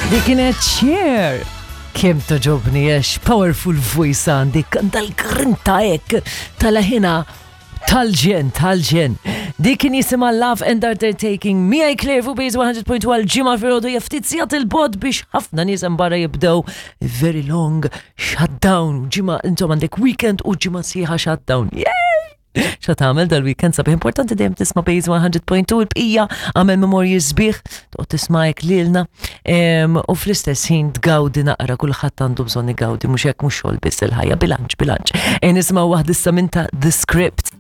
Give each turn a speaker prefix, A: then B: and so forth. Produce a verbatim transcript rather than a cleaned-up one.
A: Dik kienet Cher. Kemm togħġobni għax powerful voice għandek, dal-grinta hekk, tal-ħina tal-ġenn, tal-ġenn. Dik kien jisimha Love and Undertaking. Miegħi Claire fuq Base one hundred point one Ġimgħa filgħodu, ftit sigħat 'il bogħod biex ħafna nies hemm barra jibdew very long shutdown. Ġimgħa, intom għandek weekend u ġimgħa sħiħa shutdown. Yay! Xa tagħmel dal-weekend sabiħ? Importanti dejjem tisma' Base one hundred point two, il-bqija għamel memorji sbieħ, toqgħod tisma' hekk lilna Em, u fl-istess ħin tgawdi naqra, kulħadd għandu bżonn igawdi, mhux hekk, mhux xogħol biss il-ħajja, bilanċ, bilanċ. E nisimgħu waħda issa minn ta' The Script.